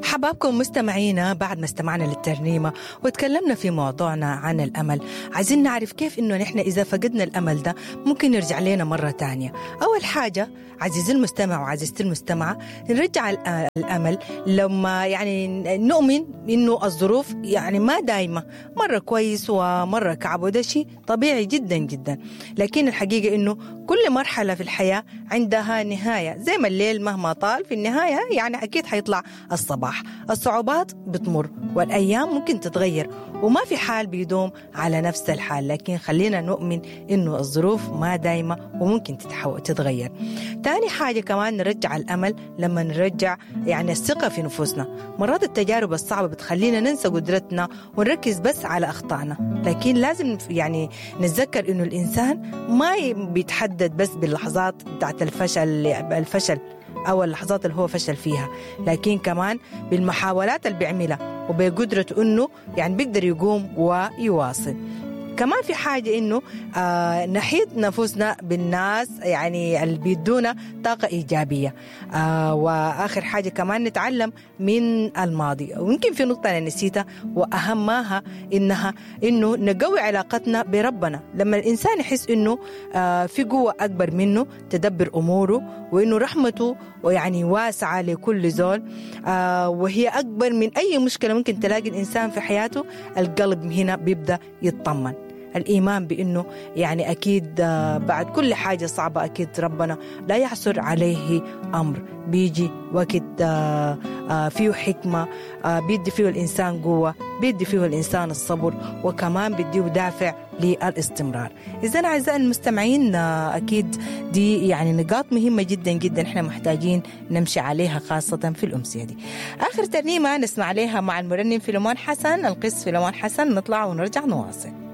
حبابكم مستمعينا، بعد ما استمعنا للترنيمة وتكلمنا في موضوعنا عن الأمل، عايزين نعرف كيف إنه نحن إذا فقدنا الأمل ده ممكن يرجع لنا مرة تانية. أول حاجة عزيزي المستمع وعزيزتي المستمعة، نرجع الأمل لما يعني نؤمن إنه الظروف يعني ما دايمة، مرة كويس ومرة كعب، وده شيء طبيعي جدا جدا. لكن الحقيقة إنه كل مرحلة في الحياة عندها نهاية، زي ما الليل مهما طال في النهاية يعني أكيد حيطلع الصباح. الصعوبات بتمر والأيام ممكن تتغير، وما في حال بيدوم على نفس الحال، لكن خلينا نؤمن إنه الظروف ما دايمة وممكن تتغير. تاني حاجة كمان نرجع الأمل لما نرجع يعني الثقة في نفوسنا. مرات التجارب الصعبة بتخلينا ننسى قدرتنا ونركز بس على أخطائنا، لكن لازم يعني نتذكر إنه الإنسان ما بيتحدد بس باللحظات بتاعت الفشل أو اللحظات اللي هو فشل فيها، لكن كمان بالمحاولات اللي بيعملها وبقدرته إنه يعني بيقدر يقوم ويواصل. كمان في حاجة إنه نحيط نفوسنا بالناس يعني اللي بيدونا طاقة إيجابية. وآخر حاجة كمان نتعلم من الماضي. ويمكن في نقطة أنا نسيتها وأهمها إنه نقوي علاقتنا بربنا. لما الإنسان يحس إنه في قوة أكبر منه تدبر أموره، وإنه رحمته ويعني واسعة لكل زول، وهي أكبر من أي مشكلة ممكن تلاقي الإنسان في حياته، القلب هنا بيبدأ يتطمن. الإيمان بأنه يعني أكيد بعد كل حاجة صعبة أكيد ربنا لا يعسر عليه أمر، بيجي وقت فيه حكمة، بيدي فيه الإنسان قوة، بيدي فيه الإنسان الصبر، وكمان بيديه دافع للاستمرار. إذن أعزائي المستمعين، أكيد دي يعني نقاط مهمة جدا جدا إحنا محتاجين نمشي عليها خاصة في الأمسية دي. آخر ترنيمة نسمع عليها مع المرنم فيلمون حسن، القس فيلمون حسن، نطلع ونرجع نواصل.